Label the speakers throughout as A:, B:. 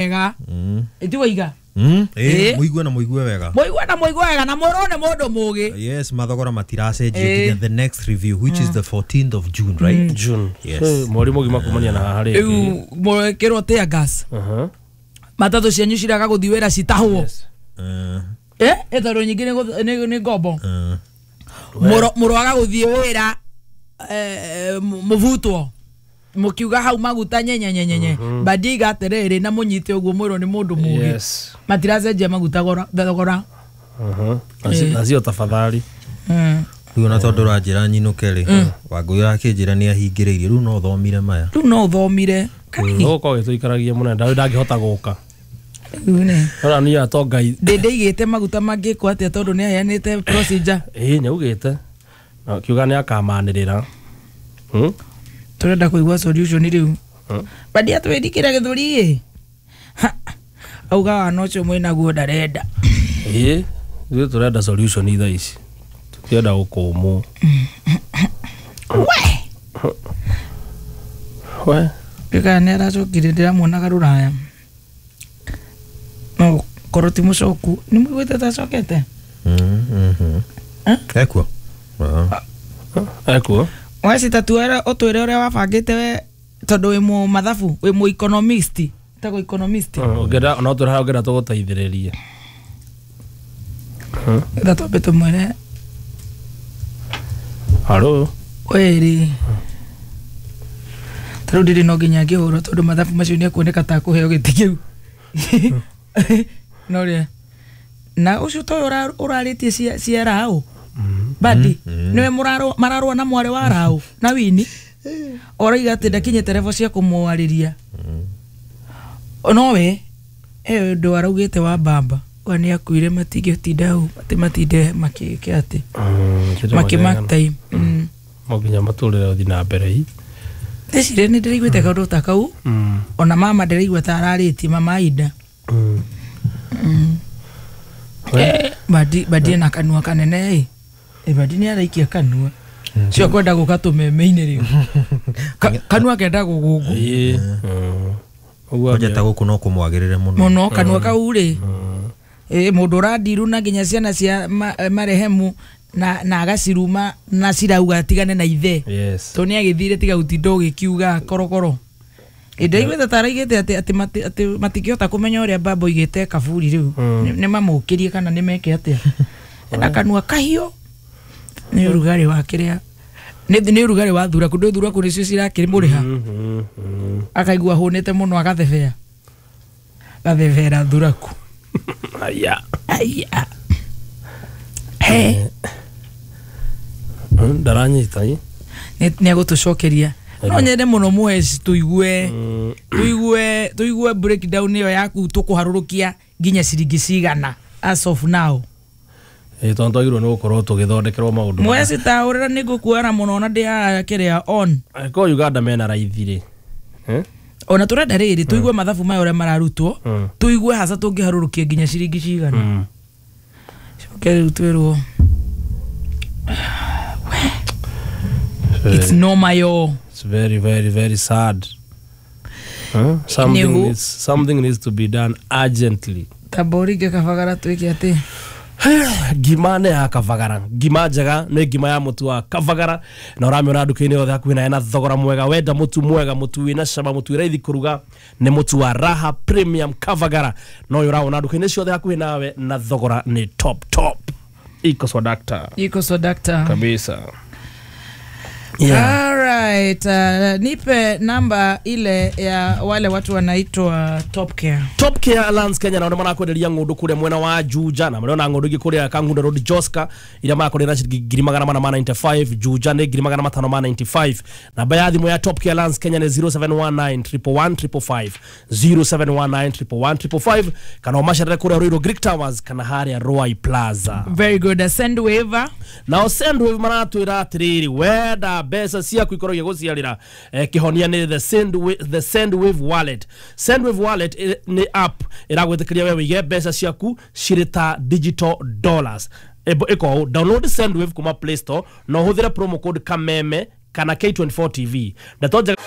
A: Wega itiwaiga.
B: Muigue na muigue wega.
A: Muigue na muigue wega na murone mundu mugi.
B: Yes, mathogora matiracenjio nginya the next review, which is the 14th of June, right?
C: June.
B: Yes.
C: Mweri mũgima kumania na haha rĩngĩ.
A: Riu mwekirwo tear gas. Matatu cianyu ciraga guthi wira citahwo.
C: Yes.
A: Tondu nyingĩ nĩ ngombo. Mũrwaga gũthiĩ wĩra, mũbutwo mũkiuga hau maguta nyenyenyenyenye bandiga atĩrĩrĩ na mũnyite ũguo mwĩrwo nĩ mũndũ mũgĩ.
C: Yes.
A: Matiracenjia maguta thogora.
C: Nacio tafadhali.
B: Rĩu ona tondũ ũranjĩra nyinũke rĩ, Wangũi ũrakĩnjĩra nĩ ahingĩrĩirie, rĩu no ũthomire maya.
A: Rĩu no ũthomire.
C: Gũkorwo gĩtũikaragia mũno ndangĩhota gũka.
A: Rĩu nĩ
C: Ona niĩ atonga
A: ndĩigĩte maguta mangĩkwo atĩa tondũ nĩ aheanĩte procedure.
C: Ĩĩ, nĩaugĩte na kiuga nĩ akamanĩrĩra.
A: Tũrenda kũigua solution rĩu. Bandia twĩrikĩra gĩthũri ĩ auga wana ũcio mwĩnaguo ndarenda.
C: Ĩĩ, ithuĩ tũrenda solution thaa ici, tũtienda gũkũmwo.
A: We
C: we
A: kana nĩ aracokire, ndĩramuonaga rũraya no korwo ti mũcoku nĩ mũiguĩte ta acokete.
B: Ekuo.
C: Ekuo.
A: Wacita tuere ũtwĩre ũrĩa wabangĩte we tondũ wĩ mũ mathabu, wĩ mũ economist, tagwo economist.
C: Ũngĩenda no tũrĩ haha, ũngĩenda tũgũteithĩrĩrie.
A: Getha twambe tũmwĩre.
C: Haro.
A: Wĩrĩ tarĩu ndĩrĩ no nginya ngĩhũrwo tondũ mathabu macio nĩ ekuoneka ta kũheo gĩtĩ kĩu no rĩa na ũcio toyũ ũrarĩtie cia raũ bandi nĩwe mararũa na mwarĩ wa raũ na wini oraiga atĩ ndakinyĩte level cia kũmwarĩria nowe ũndũ araugĩte wa bamba wa nĩ akuire matingĩtinda hau atĩ matinde makĩke atĩ makĩ mark time.
C: No nginya matũrĩre ũthiĩ na mbere hi.
A: Ndĩciria nĩ ndĩraiguĩte kaũndũ ta kau. Ona mama ndĩraigua ta ararĩtie mama Ida. Bandi na kanua kanene ĩ, bandi nĩ araikia kanua cio kwenda gũka tũmeme-inĩ rĩu. Kanua kenda gũgũngũ.
C: Ũguo
B: Kwanja ta gũkũ no kũmwagĩrĩre mũno.
A: Mũno kanua kau rĩ, mũndũ ũrandiru na nginya ciana cia marehemu na agaciruma na cirauga atigane na ithe.
C: Yes.
A: Tondũ nĩ agĩthire tiga gũtinda ũgĩkiuga korokoro. Ndaiguĩte ta araigĩte atĩ matingĩhota kũmenya ũrĩa baba oigĩte kaburi rĩu. Nĩ mamũkĩrie kana nĩ meke atĩa. Na kanua kahiũ nĩ ũrugarĩ wa kĩrĩa nĩ ũrugarĩ wa thuraku, ndũ thuraku nĩcio cirakĩmũrĩha. Akaigua hũnĩte mũno agathebea gathebera thuraku.
C: Aya.
A: Aya. He.
C: Ndaranyita ĩ.
A: Nĩ agũtũcokeria. No nyende mũno mweci tuigue tuigue tuigue breakdown ĩyo yaku tũkũharũrũkia nginya ciringi cigana as of now.
C: Tondũ twagĩrĩirwo nĩ gũkorwo tũgĩthondekerwo maũndũ.
A: Mweci taũrĩra nĩ ngũkuara mũno na ndĩ haha kĩrĩa on.
C: Angĩkorwo Uganda mena raithi rĩ.
A: Ona tũrenda rĩrĩ tũigue mathabu maya ũrĩa mararutwo, tũigue haca tũngĩharũrũkia nginya ciringi cigana. Coke rĩu twĩrwo it's normal yo.
C: It's very, very, very sad. Something needs to be done urgently.
A: Taborige Kabagara twĩke atĩ.
C: Ngima nĩ ya Kabagara, ngima njega nĩ ngima ya mũtu wa Kabagara na ũramĩona nduka-inĩ yothe hakuhĩ nawe na thogora mwega. Wenda mũtu mwega, mũtu wĩna cama, mũtu wĩ raithi kũruga nĩ mũtu wa Raha Premium Kabagara, na ũyũ ũrawona nduka-inĩ ciothe hakuhĩ nawe na thogora nĩ top top. Iko swadakta.
A: Iko swadakta.
C: Kabisa.
A: Yeah. All right, nipe namba ile ya wale watu wanaitwa Top Care.
C: Top Care Alliance Kenya na marakwenderia ng'ũndũ kũrĩa mwena wa Juja na marona ng'ũndũ ingĩ kũrĩa Kangundo Road Joska iria marakwenderia ciringi 495, Juja nĩ 595. Namba ya thimũ ya Top Care Alliance Kenya nĩ 0719 111 555, 0719 111 555, kana ũmacerere kũrĩa Ruiru Greek Towers kana harĩa Ruai Plaza.
A: Very good. Sendwave.
C: Nao Sendwave maratwĩra atĩrĩrĩ, wenda mbeca ciaku ikorwo igĩgũciarĩra, kĩhonia nĩ the Sendwave wallet. Sendwave wallet nĩ app ĩragwĩtĩkĩria we wĩige mbeca ciaku cirĩ ta digital dollars. Ĩko download Sendwave kuma Play Store na ũhũthĩre promo code Kameme kana K24 TV. Ndeto njega.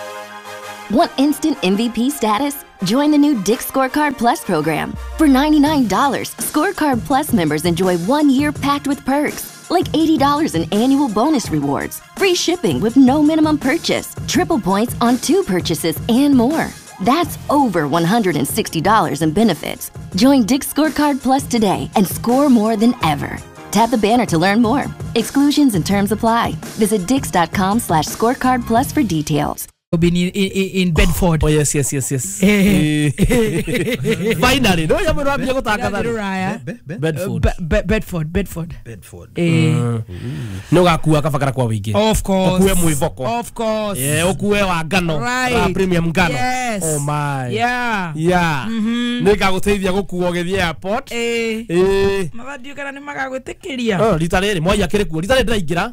D: Want instant MVP status? Join the new Dick's Scorecard Plus program. For $99, Scorecard Plus members enjoy 1 year packed with perks, like $80 in annual bonus rewards, free shipping with no minimum purchase, triple points on two purchases, and more. That's over $160 in benefits. Join Dick's Scorecard Plus today and score more than ever. Tap the banner to learn more. Exclusions and terms apply. Visit dicks.com/scorecard plus for details.
A: Been in Bedford.
C: Oh yes. Finally, no ya mũndũ gũtangatha.
A: Rũraya.
C: Bedford.
A: Bedford, Bedford.
B: Bedford.
C: Nĩ ũgakua kabagara kwa wĩingĩ.
A: Of course.
C: Ũkue mwĩvoko.
A: Of course.
C: Ũkue wa ngano.
A: Right.
C: Wa premium ngano.
A: Yes.
C: Oh my.
A: Yeah.
C: Yeah. Nĩ ngagũteithia gũkua ũgĩthiĩ airport.
A: Mathandio kana nĩ magagwĩtĩkĩria.
C: Oh, rita rĩrĩ mwai akĩrĩ kuo. Rita rĩrĩ ndĩraingĩra.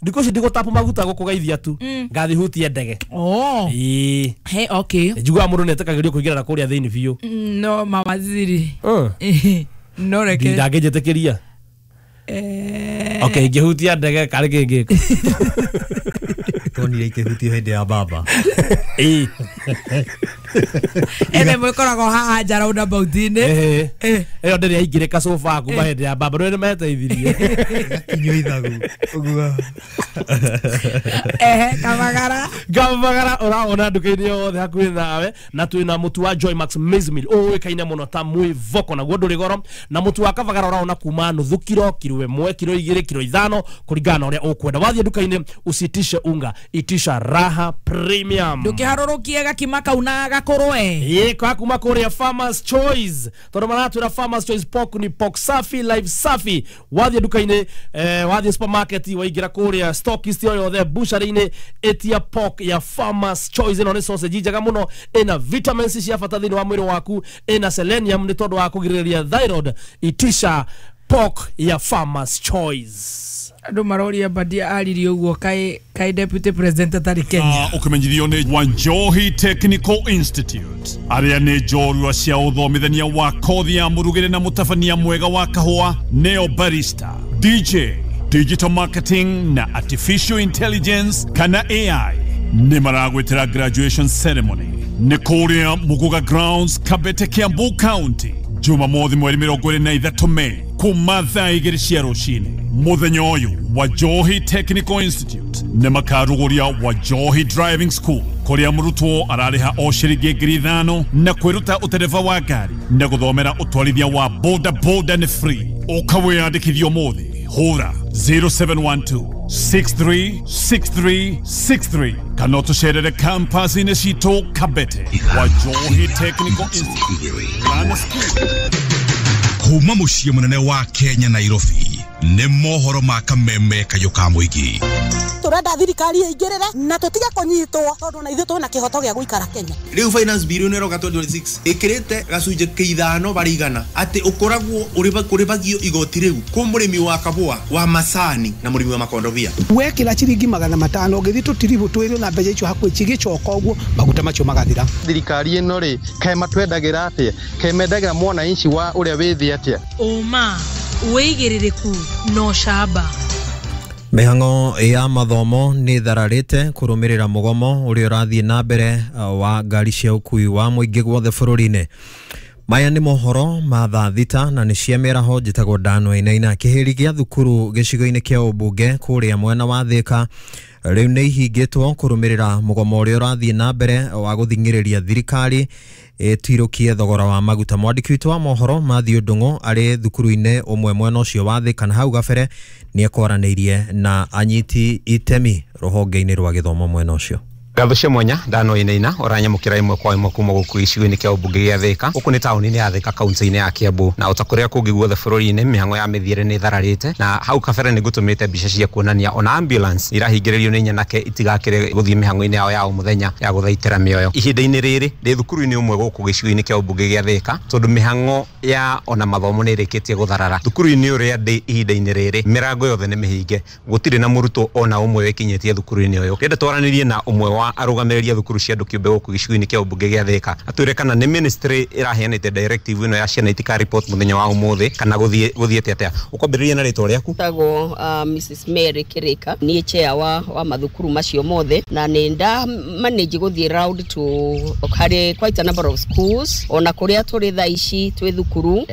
C: Thikũ ici ndigũtapu maguta gũkũgeithia tu. Ngathi hutie ndege.
A: Oh. Hey, okay.
C: Njiguaga mũndũ nĩetĩkagĩrio kũingĩra na kũrĩa thĩinĩ biũ.
A: No mawaziri. No reke.
C: Ndangĩnjĩtĩkĩria. Okay, ingĩhutia ndege karĩ kĩngĩka.
B: Tuonire ikĩhutio hĩndĩ ya baba.
A: Ene mwĩkoragwo haha nja roundabout-inĩ.
C: Ĩyo ndĩrĩ yaingĩrĩka sofa kuma hĩndĩ ya baba rĩu nĩmeteithirie.
B: Kinywo ithagu. Ũguo.
A: Ehe, Kamagara.
C: Kamagara ũrawona nduka-inĩ yothe hakuhĩ nawe, na twĩna mũtu wa Joymax Maize Meal ũĩkaine mũno ta mwĩvoko, naguo ndũrĩ goro, na mũtu wa Kabagara ũrawona kuma nuthu kiro, kiro 1, kiro 2, kiro 5 kũringana na ũrĩa ũkwenda. Wathiĩ nduka-inĩ usitishe unga, itisha Raha Premium.
A: Ndũkĩharũrũkie gakima kau na gakũrwe.
C: Ĩĩ, kuma kũrĩa Farmers Choice, tondũ maratwĩra Farmers Choice pork ni pork safi, life safi. Wathiĩ nduka-inĩ, wathiĩ supermarket, waingĩra kũrĩa stockist o yothe, butchery-inĩ, ĩtia pork ya Farmers Choice. Ĩno nĩ sausage njega mũno, ĩna vitamins cia bata thĩinĩ wa mwĩrĩ waku, ĩna selenium nĩ tondũ wa kũgirĩrĩria thyroid. Itisha pork ya Farmers Choice.
A: Andũ maroria Mbadia aririe ũguo kaĩ deputy president atarĩ Kenya.
E: Ũkĩmenyithio nĩ Wanjohi Technical Institute, arĩa nĩ njorua cia ũthomithania wa kothi ya mũrugĩre na mũtabania mwega wa kahũa, neo barista, DJ, digital marketing na artificial intelligence kana AI, nĩ maragwĩtĩra graduation ceremony nĩ kũrĩa Muguga Grounds, Kabete, Kiambu County, Jumamothi mweri 23 Mei kuma thaa 2 cia rũcinĩ. Mũthenya ũyũ Wajohi Technical Institute nĩ makarugũria Wajohi Driving School, kũrĩa mũrutwo ararĩha o ciringi 5,000 na kwĩruta ũtereba wa ngari na gũthomera ũtwarithia wa boda boda nĩ free. Ũka wĩyandĩkithie ũmũthĩ, hũra 0712 636363 kana ũtũcerere campus-inĩ citũ Kabete. Wajohi Technical Institute. Learn skill.
F: Kuma mũciĩ mũnene wa Kenya Nairobi, nĩ mohoro ma kameme kayũ ka mũingĩ.
G: Turenda thirikari ĩingĩrĩre na tũtige kũnyitwo tondũ na ithuĩ twĩna kĩhoto gĩa gũikara Kenya.
H: Rĩu finance bill nĩ ĩroka 2026 ĩkĩrĩte gacunjĩ kĩa 5 harĩ igana atĩ ũkoragwo ũrĩbagio igoti rĩu kũ mũrĩmi wa kabũa, wa macani na mũrĩmi wa makondobia.
I: Wekĩra ciringi 500 ũgĩthiĩ tũtiribũ twĩrĩ na mbeca icio hakuhĩ cigĩcoka ũguo maguta macio magathira.
J: Thirikari ĩno rĩ kaĩ matwendagĩra atĩa, kaĩ mendagĩra mwananchi wa ũrĩa wĩ thĩ atĩa?
K: Ũma, wĩigĩrĩrĩku na ũcamba.
B: Mĩhang'o ya mathomo nĩ thararĩte kũrũmĩrĩra mũgomo ũrĩa ũrathiĩ na mbere wa ngari cia ũkui wa mũingĩ guothe bũrũri-inĩ. Maya nĩ mohoro ma thaa 6 na nĩ cia mĩaraho. Njĩtagwo Dan Wainaina. Kĩhĩri gĩa thukuru gĩcigo-inĩ kĩa ũmbunge kũrĩa mwena wa Thĩka rĩu nĩ ihingĩtwo kũrũmĩrĩra mũgomo ũrĩa ũrathiĩ na mbere wa gũthing'ĩrĩria thirikari ĩtirũkie thogora wa maguta. Mwandĩki witũ wa mohoro Matthew Ndung'u arĩ thukuru-inĩ ũmwe mwena ũcio wa Thĩka na hau gabere nĩ ekwaranĩirie na anyiti itemi rũhonge-inĩ rwa gĩthomo mwena ũcio.
L: Ngatho cia mwanya Ndano Wainaina ũranyamũkĩra ĩmwe kwa ĩmwe kuma gũkũ gĩcigo-inĩ kĩa ũmbunge gĩa Thĩka. Gũkũ nĩ taũni-inĩ ya Thĩka, kaunti-inĩ ya Kiambu, na ota kũrĩa kũngĩ guothe bũrũri-inĩ mĩhang'o ya mĩthiĩre nĩ ĩthararĩte, na hau kabere nĩ ngũtũmĩte mbica cia kuonania ona ambulance irahingĩrĩrio nĩ nyanake itigakĩre gũthiĩ mĩhang'o-inĩ yao ya o mũthenya ya gũthaitĩra mĩoyo. Ihinda-inĩ rĩrĩ ndĩ thukuru-inĩ ũmwe gũkũ gĩcigo-inĩ kĩa ũmbunge gĩa Thĩka, tondũ mĩhang'o ya ona mathomo nĩ ĩrĩkĩtie gũtharara. Thukuru-inĩ ũrĩa ndĩ ihinda-inĩ rĩrĩ mĩrango yothe nĩ mĩhinge, gũtirĩ na mũrutwo ona ũmwe wĩkinyĩtie thukuru-inĩ ũyũ. Ndĩrenda twaranĩrie na ũmwe wa wa arũgamĩrĩri a thukuru cia andũ kĩũmbe gũkũ gĩcigo-inĩ kĩa ũmbunge gĩa Thĩka, atwĩre kana nĩ ministry ĩraheanĩte directive ĩno ya ciana itika report mũthenya wa ũmũthĩ kana gũthiĩte atĩa. Ũkwambĩrĩria na rĩtwa rĩaku.
M: Tagwo Mrs Mary Kirika, niĩ chair wa mathukuru macio mothe, na nĩ nda manage gũthiĩ round to harĩ quite a number of schools ona kũrĩa tũrĩ thaa ici twĩ thukuru,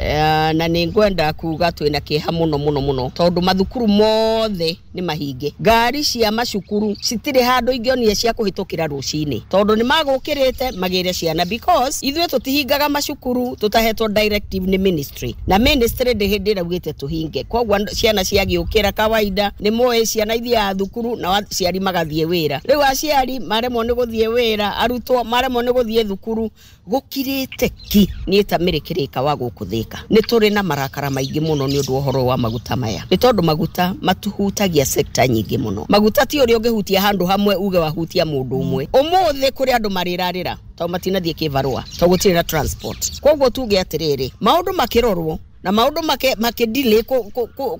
M: na nĩ ngwenda kuga twĩna kĩeha mũno mũno mũno tondũ mathukuru mothe nĩ mahinge. Ngari cia macukuru citirĩ handũ ingĩonire cia kũhĩtũkĩra rũcinĩ tondũ nĩ magũkĩrĩte magĩre ciana, because ithuĩ tũtihingaga macukuru tũtahetwo directive nĩ ministry, na ministry ndĩ hĩndĩ ĩraugĩte tũhinge. Koguo ciana ciagĩũkĩra kawaida nĩ moĩ ciana ithiaga thukuru na aciari magathiĩ wĩra. Rĩu aciari maremwo nĩ gũthiĩ wĩra, arutwo maremwo nĩ gũthiĩ thukuru, gũkirĩte ki. Niĩ ta Mary Kirika wa gũkũ Thĩka nĩ tũrĩ na marakara maingĩ mũno nĩ ũndũ wa ũhoro wa maguta maya, nĩ tondũ maguta matuhutagia sekta nyingĩ mũno. Maguta ti ũrĩa ũngĩhutia handũ hamwe uge wahutia mũndũ ũmwe. Ũmũthĩ kũrĩ andũ marĩrarĩra tondũ matinathiĩ kĩbarũa tondũ gũtirĩ na transport. Koguo tuge atĩrĩrĩ, maũndũ makĩrorwo na maũndũ makĩdelay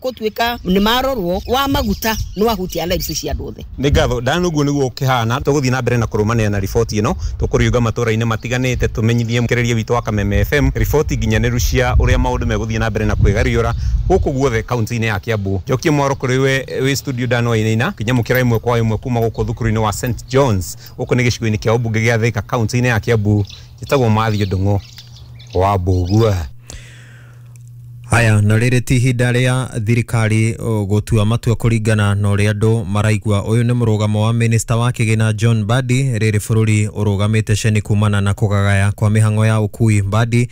M: gũtuĩka nĩ marorwo wa maguta nĩ wahutia lives cia andũ othe.
L: Nĩ ngatho Dan, ũguo nĩguo ũkĩhana. Tũgũthiĩ na mbere na kũrũmanĩra na riboti ĩno, tũkũriũnga matũra-inĩ matiganĩte tũmenyithie mũkereria witũ wa Kameme FM riboti nginyanĩru cia ũrĩa maũndũ megũthiĩ na mbere na kwĩgariũra gũkũ guothe kaunti-inĩ ya Kiambu. Njokie mwaro kũrĩ we wĩ studio Dan Wainaina, kĩnyamũkĩra ĩmwe kwa ĩmwe kuma gũkũ thukuru-inĩ wa St John's gũkũ nĩ gĩcigo-inĩ kĩa ũmbunge gĩa Thĩka kaunti-inĩ ya Kiambu. Njĩtagwo Mathiũ Ndung'u wa Mbũgua.
B: Haya, na rĩrĩ ti ihinda rĩa thirikari gũtua matua kũringana na ũrĩa andũ maraigua. Ũyũ nĩ mũrũgamo wa minista wa kĩgĩna John Mbadi rĩrĩ bũrũri ũrũgamĩte ceni kumana na kũgagaya kwa mĩhang'o ya ũkui. Mbadi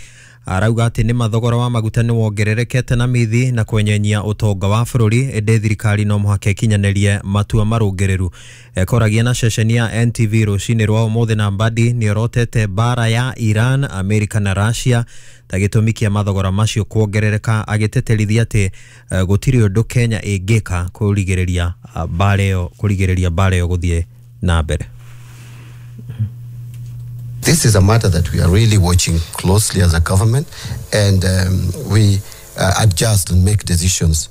B: arauga atĩ nĩ mathogora wa maguta nĩ wongererekete na mithi na kwenyenyia ũtonga wa bũrũri, ĩndĩ thirikari no mũhaka ĩkinyanĩrie matua marũngĩrĩru. Ekoragia na ceceni ya NTV rũcinĩ rwa ũmũthĩ, na Mbadi nĩorotete mbara ya Iran, Amerika na Russia ta gĩtũmi kĩa mathogora macio kuongerereka, agĩteterithia atĩ gũtirĩ ũndũ Kenya ĩngĩka kũrigĩrĩria mbara ĩyo gũthiĩ na mbere.
N: This is a matter that we are really watching closely as a government, and we adjust and make decisions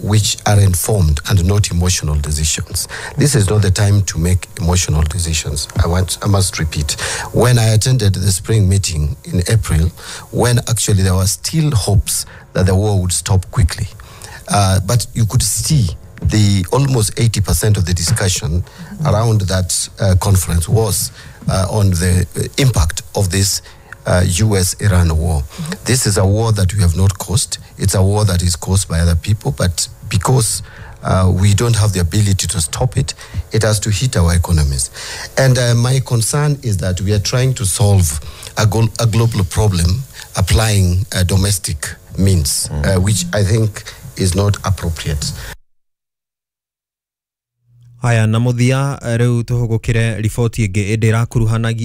N: which are informed and not emotional decisions. This is not the time to make emotional decisions. I must repeat. When I attended the spring meeting in April, when actually there were still hopes that the war would stop quickly, but you could see the almost 80% of the discussion around that conference was on the impact of this US-Iran war. This is a war that we have not caused. It's a war that is caused by other people, but because we don't have the ability to stop it, it has to hit our economies. And my concern is that we are trying to solve a global problem applying domestic means, which I think is not appropriate.
B: Haya, na muthia riu tuhugukire riboti ingi indi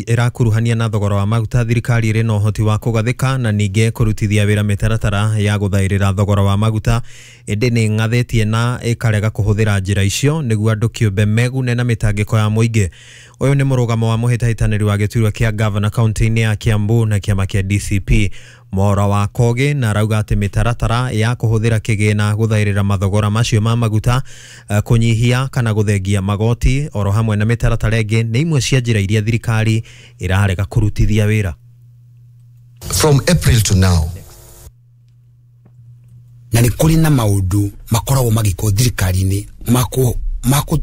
B: irakuruhania na thogora wa maguta. Thirikari iri na uhoti wa kugathika na ningi kurutithia wira mitaratara ya guthairira thogora wa maguta, indi ni ng'athitie na ikarega kuhuthira njira icio niguo andu kiumbe megune na mitangiko ya muingi. Uyu ni murugamo wa muhitahitaniri wa giturwa kia governor kaunti-ini ya Kiambu na kiama kia DCP Mwaura wa Kogi, na arauga ati mitaratara ya kuhuthira kigina guthairira mathogora macio ma maguta, kunyihia kana guthengia magoti oro hamwe na mitaratara ingi ni imwe cia njira iria thirikari irarega kurutithia wira.
N: From April to now,
O: na ni kuri na maundu makoragwo magikwo thirikari-ini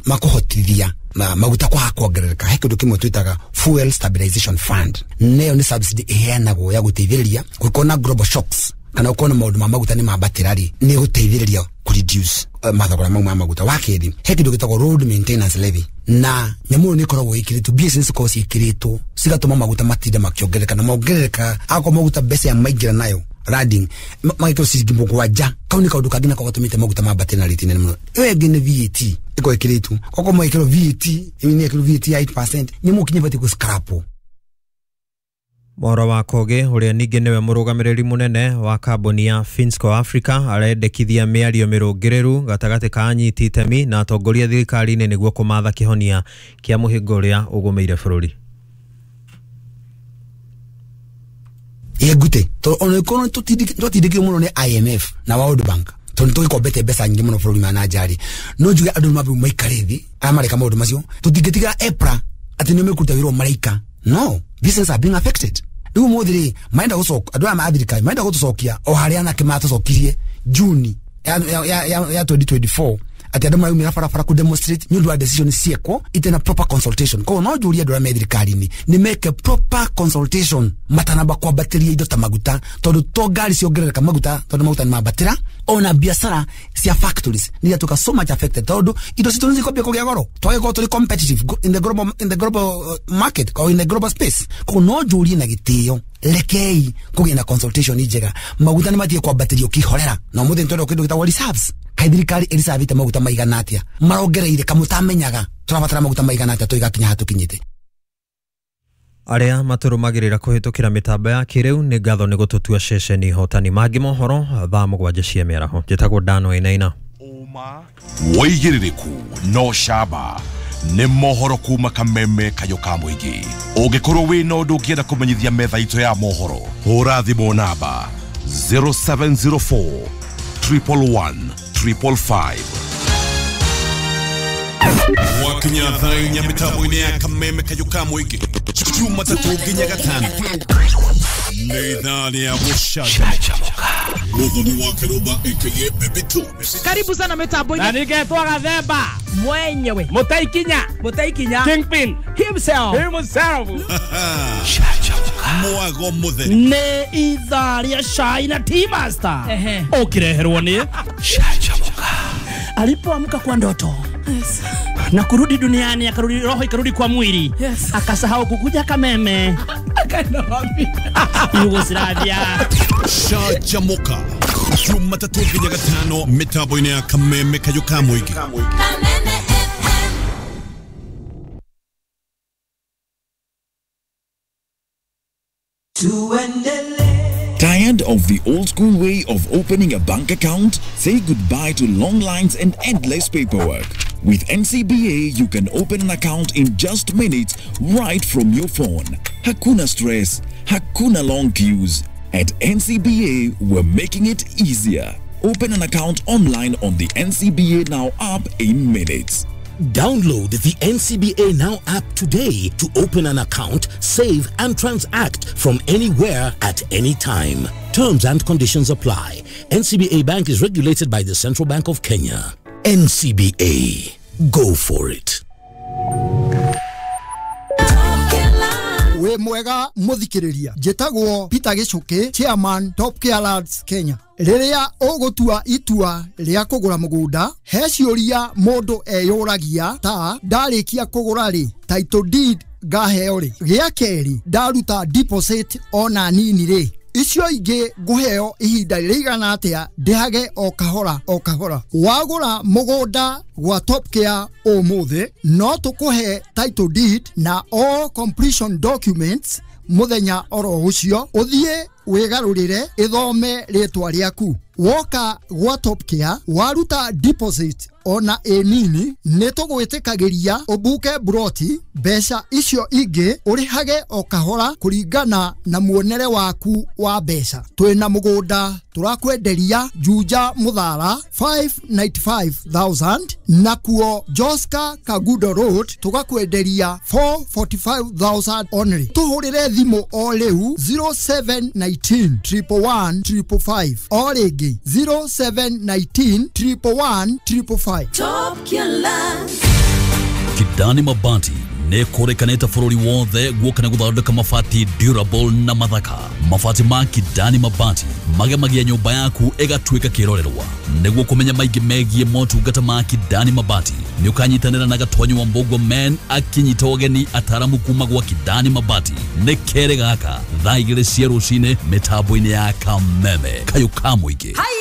O: makuhotithia na maguta kwa kuongerereka. He kindu kimwe twitaga fuel stabilization fund, nayo ni subsidy iheanagwo ya guteithĩrĩria gũkorwo global shocks kana gũkorwo na maũndũ ma maguta nĩ mambatĩra rĩ, nĩ gũteithĩrĩria ku reduce mathogora mau ma maguta. Wa kerĩ, he kĩndũ gĩtagwo road maintenance levy, na nyamũ ĩyo nĩ ĩkoragwo ĩkĩrĩtwo mbia ici cikoragwo ciĩkĩrĩtwo cigatũma maguta matinde makĩongerereka na mongerereka akorwo maguta mbeca ya maingĩra nayo landing magĩkĩrwo ciringi 7 kau nĩ kaũndũ kangĩ nako gatũmĩte maguta mambatĩre na rĩti nene mũno. Ĩyo ĩngĩ nĩ VAT ĩkorwo ĩkĩrĩtwo, koguo magĩkĩrwo VAT nĩ ĩkĩrwo VAT ya 8% nyamũ kinya ĩbatiĩ gũscrapwo.
B: Mwaura wa Kogi uria ningĩ nĩwe mũrũgamĩrĩri mũnene wa kambuni ya Finsco Africa arendekithia mĩario mĩrũngĩrĩru gatagatĩ ka anyiti itemi na atongoria thirikari-inĩ nĩguo kũmatha kĩhonia kĩa mũhĩnga ũrĩa ũgũmĩire bũrũri.
O: Yegute to ona kono tutindikio muno ni IMF na World Bank tondu tugikombete mbeca nyingi muno bũrũri ma na njari no njuge andu mambe maikare thi aya mareka maundu macio tutingitigira EPRA Atĩ nĩo mekũruta wĩra o maraika. No, business are being affected. Rĩu ũmũthĩ rĩ, marenda gũcoka andũ aya ma thirikari marenda gũtũcokia o harĩa anake matũcokirie June ya 2024, atĩ andũ maraumĩra barabara ku demonstrate nĩ ũndũ wa decision ciekwo ite na proper consultation. Koguo no njũrie andũ arĩa me thirikari-inĩ nĩ meke proper consultation matanamba kwambatĩria indo ta maguta, tondũ to ngari ciongerereka maguta, tondũ maguta nĩ mambatĩra, ona biacara cia factories nĩ iratuĩka so much affected, tondũ indo citũ nĩ cikwambia kũgĩa goro, twagĩkorwo tũrĩ competitive in the global market or in the global space. Koguo no njũrie na gĩtĩo, rekei kũgĩa na consultation njega. Maguta nĩ matige kwambatĩrio kĩhorera, na ũmũthĩ nĩ tũrenda kĩndũ gĩtagwo reserves. Kaĩ thirikari ĩricavĩte maguta maigana atĩa? Marongereire kamũtamenyaga tũrabatara maguta maigana atĩa tũigakinya hatũkinyĩte.
B: Arĩa matũrũmagĩrĩra kũhĩtũkĩra mĩtambo ya kĩrĩu, nĩ ngatho nĩ gũtũtua ceceni hotani. Mangĩ mohoro thaa 7 cia mĩaraho. Njĩtagwo Dano Ĩnaina.
F: Wĩigĩrĩrĩku no camba nĩ mohoro kuma Kameme kayũ ka mũingĩ. Ũngĩkorwo wĩna ũndũ ũngĩenda kũmenyithia metha itũ ya mohoro, hũra thimũ namba 0704 111 555.
E: Gwakinya thaa 4 mĩtambo-inĩ ya Kameme kayũ ka mũingĩ, Jumatatũ nginya Gatano, nĩ ithaa rĩa gũcanjamũka. Mũthoni wa Kĩrũmba aka Baby Tunes.
A: Karibu sana mitambo-inĩ.
C: Na ningetwa Gathemba
A: mwenyewe.
C: Mũtaikinya.
A: Mũtaikinya
C: Kingpin
A: himself.
C: Himself.
E: Mwago mũtheri.
C: Nĩ ithaa rĩa cai na tea master ũkĩreherwo nĩ Canjamũka. Alipoamka kwa ndoto na kurudi duniani, akarudi roho ikarudi kwa mwili, akasahau kukuja Kameme.
A: Akaenda wapi?
C: Yugoslavia.
E: Canjamũka Jumatatũ nginya Gatano mĩtambo-inĩ ya Kameme kayũ ka mũingĩ.
P: Kameme FM.
Q: Tired of the old school way of opening a bank account? Say goodbye to long lines and endless paperwork. With NCBA, you can open an account in just minutes right from your phone. Hakuna stress, hakuna long queues. At NCBA, we're making it easier. Open an account online on the NCBA Now app in minutes.
R: Download the NCBA Now app today to open an account, save and transact from anywhere at any time. Terms and conditions apply. NCBA Bank is regulated by the Central Bank of Kenya. NCBA. Go for it.
S: Wĩ mwega mũthikĩrĩria, njĩtagwo Peter Gĩcũkĩ, chairman Top Care Lands Kenya. Rĩrĩa ũgũtua itua rĩa kũgũra mũgũnda, he ciũria mũndũ eyũragia ta: ndarĩkia kũgũra rĩ, title deed ngaheo rĩ? Gĩa kerĩ, ndaruta deposit ona nini rĩ, icio ingĩ ngũheo ihinda rĩigana atĩa ndĩhage o kahora o kahora? Wagũra mũgũnda gwa Top Care ũmũthĩ, no tũkũhe title deed na all completion documents mũthenya oro ũcio, ũthiĩ wĩgarũrĩre ĩthome rĩtwa rĩaku. Woka gwa Top Care waruta deposit ona ĩ nini, nĩ tũgwĩtĩkagĩria ũbuke buroti, mbeca icio ingĩ ũrĩhage o kahora kũringana na muonere waku wa mbeca. Twĩna mũgũnda tũrakwenderia Juja Mũthara 595,000, nakuo Joska Kagudo Road tũgakwenderia 445,000 only. Tũhũrĩre thimũ o rĩu 0719 111 555, o rĩngĩ 0719 111 555.
P: Top Killer.
T: Kidani Mabati nĩ kũrĩkanĩte bũrũri wothe guoka na gũthondeka mabati durable na mathaka. Mabati ma Kidani Mabati magemagia nyũmba yaku ĩgatuĩka kĩrorerwa. Nĩguo kũmenya maingĩ megiĩ motungata ma Kidani Mabati, nĩ ũkanyitanĩra na Gatonyi wa Mbũgua men akinyita ũgeni ataramu kuma gwa Kidani Mabati. Nĩ kerĩ gaka thaa 2 cia rũcinĩ mĩtambo-inĩ ya Kameme kayũ ka mũingĩ.
P: Hai.